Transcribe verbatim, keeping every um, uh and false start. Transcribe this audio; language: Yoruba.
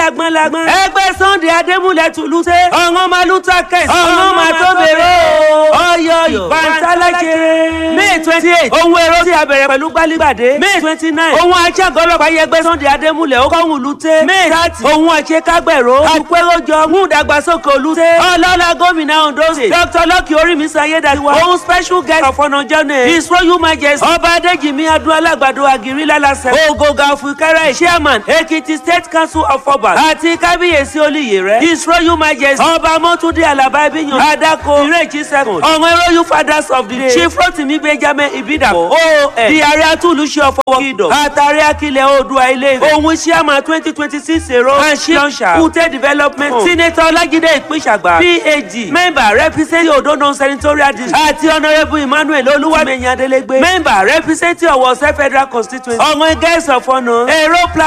Lágbọ́n lágbọ́n. Ẹgbẹ́ Sunday Adémúlẹ̀ Tùlùtẹ́. Ọ̀ràn máa lù ta kẹ̀sì. Ọ̀ràn máa tó bèrè o. Ọyọ ìbántálàjẹrẹ. May twenty eight. Ohun èrò tí a bẹ̀rẹ̀ pẹ̀lú gbálígbàdé. May twenty nine. Ohun aṣáàgọ́ ọlọ́pàá yẹgbẹ́ Sunday Adémúlẹ̀ ó kọ́hún lùtẹ́. May thirty. Ohun àṣekágbẹ̀rọ. Àpéròjọ mú ìdàgbàsókè olùtẹ́. Ọlọ́lá gómìnà Ondo State. Dr Lucky Orímisan Ayédàtiwa. Ohun special guest of honour journey. His Royal Majesty. Ọba Adéjìmí Adún Alágbàdo Àgírí Lálásẹ̀. Ògògà Òfìkẹ́rẹ́ Chairman Ekiti State Council of Obas. Àti Kábíyèsí Olúyèrè. His Royal Majesty. Ọba Mọ́túndé Àlàbá Ibiyan. Adako Ìrèjì second. Ọ̀wọ́n Royal Fathers of the Day. Chief Rotimi Benjamin Ibidapo. O N. Di Ààrẹ Atúlùṣe ọ̀fọwọ́ Kingdom. Àtàrí Akilẹ̀ Oòduà Ilé Ifẹ̀. Òun Chairman twenty twenty six èrò. And Launcher Kute Development. Senator Ọlájídé Ìpínṣàgbà. PhD. Member representing Ondo Non-Senatorial District. Àti Honourable Emmanuel Olúwàmẹ̀yìn Adélégbé. Member representing Ọ̀wọ̀ State Federal Constituency. Ọ̀wọ́n Guest of Honour. Èrò plan.